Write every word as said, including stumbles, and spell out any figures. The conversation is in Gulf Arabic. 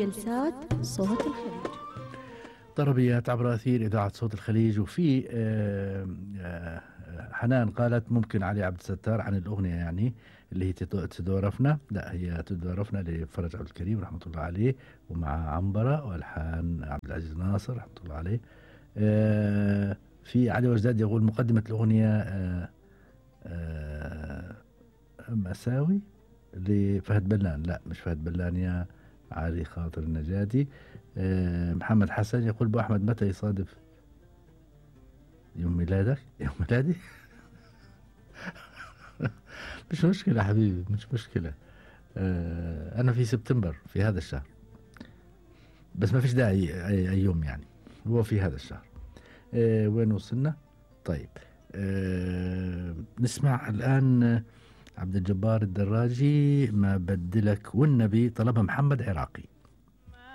جلسات صوت الخليج. طربيات عبر أثير إذاعة صوت الخليج. وفي آه، آه، حنان قالت ممكن علي عبد الستار عن الأغنية يعني اللي هي تدو- تدورفنا. لا، هي تدورفنا لفرج عبد الكريم رحمة الله عليه، ومع عنبرة والحان عبد العزيز ناصر رحمة الله عليه. آه، في علي وجداد يقول مقدمة الأغنية آه، آه، مساوي لفهد بلان. لا، مش فهد بلان يا علي خاطر النجاتي. آه، محمد حسن يقول ابو احمد متى يصادف يوم ميلادك؟ يوم ميلادي؟ مش مشكلة حبيبي، مش مشكلة. آه، انا في سبتمبر في هذا الشهر، بس ما فيش داعي أي, اي يوم يعني، هو في هذا الشهر. آه، وين وصلنا؟ طيب، آه، نسمع الان عبد الجبار الدراجي ما بدلك والنبي، طلبها محمد عراقي.